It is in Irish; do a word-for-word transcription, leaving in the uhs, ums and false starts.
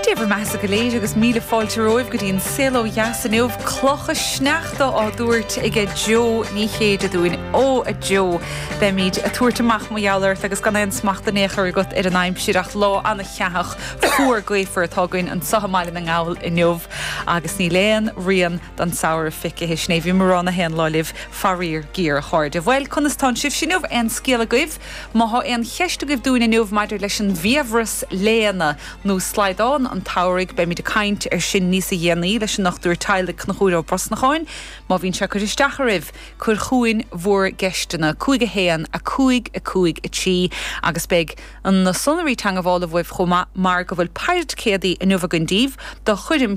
Dé bhur mbeatha go léir agus míle fáilte romhaibh go dtí an Saol Ó Dheas inniu clocha sneachta á dtabhairt ag Joe Ní Chéide dúinn ó a Joe Beimid ag tabhairt amach mar gheall ort agus gan aon smacht in aon chor agat ar an aimsir ach lá an-cheathach fuar gaofar atá againn anseo i mBaile na nGall inniu agus níl aon rian den samhradh feicthe sin é bhí mar a haon lá libh faraor géar a chairde. Bhuel conas tá sibh inniu aon scéal agaibh má tá aon cheist agaibh dúinn inniu maidir leis an bhfiabhras léana nó slaghdán an tsamhraidh beimid ag caint ar sin níos déanaí leis an ndochtúir teaghlaigh Conchúr Ó Brosnacháin, má bhíonn sé ag cur isteach oraibh cuir chugainn bhur gceisteanna cúig a haon a cúig a cúig a trí agus beidh an na sonraí teagmhála uaibh chomh maith mar go bhfuil paircéadaí inniu againn daoibh do choirm